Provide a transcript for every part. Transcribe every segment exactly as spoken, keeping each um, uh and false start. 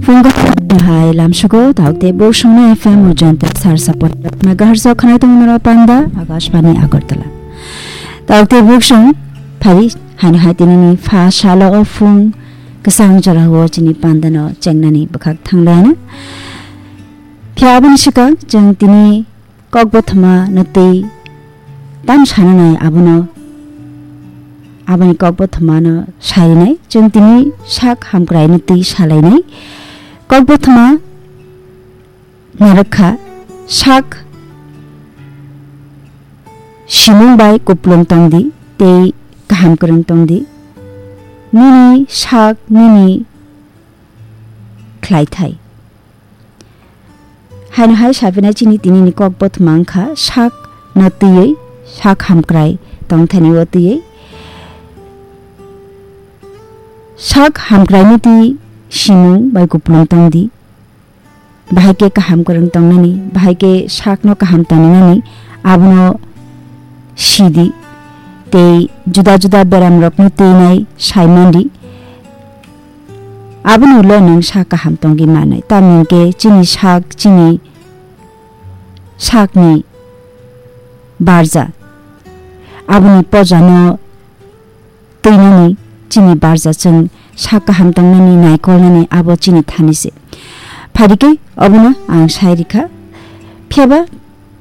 Phung kaham hai lamsugo, taukte buksongno F M urjanta sar sapot megahertz o khanai tongmani panda Akashbani Agartala. Taukte buksong phari haino hai tinini pha salo o phung kwsang jorao chini pandano chengnani bwkhak thanglaina. Phiya aboni swkang chwng tini kokbothoma no twi tam sananai abono, aboni kokbothoma no sarinai. Chwng tini sak hamkrai no twi salainai. Kokbothoma narwkha, sak simung bai kuplung tongdi tei kaham kwrwng tongdi. Nini sak nini khlaithai. Haino hai saphinai chini tinini kokbothoma wngkha sak no twiwi, sak hamkrai tongthani o twiwi. Sak hamkrai no twi simung bai kuplung tongdi. Bahai khe kaham kwrwng tongnani, bahai khe sakno kaham tongmani, abono sidi. Tei juda juda beramrokno twinai saimandi. Aboni ulo nwng sak kaham tongwi manai. Tamni hwnkhe chini sak, chini sakni barja. Aboni pojano twinani chini barja chwng sak kaham tongnani naikolnani abo chini thani se. Phaidi khe obono ang sai rikha. Phiyaba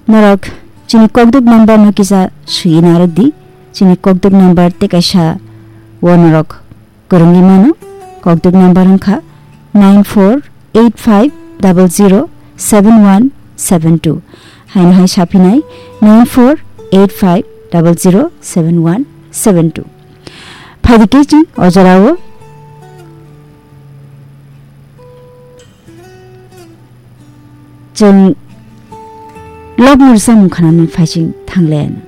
norok chini kokduk number no kisa sui narwk di. Chini kokduk number tei kaisa o norok kwrwngwi mano. Kokduk number wngkha nine four eight five double zero seven one seven two. Haino hai saphinai nine four eight five double zero seven one seven two. Phaidi khe chwng o jorao chwng lok ni rwchapmung khanani phaiching thanglen.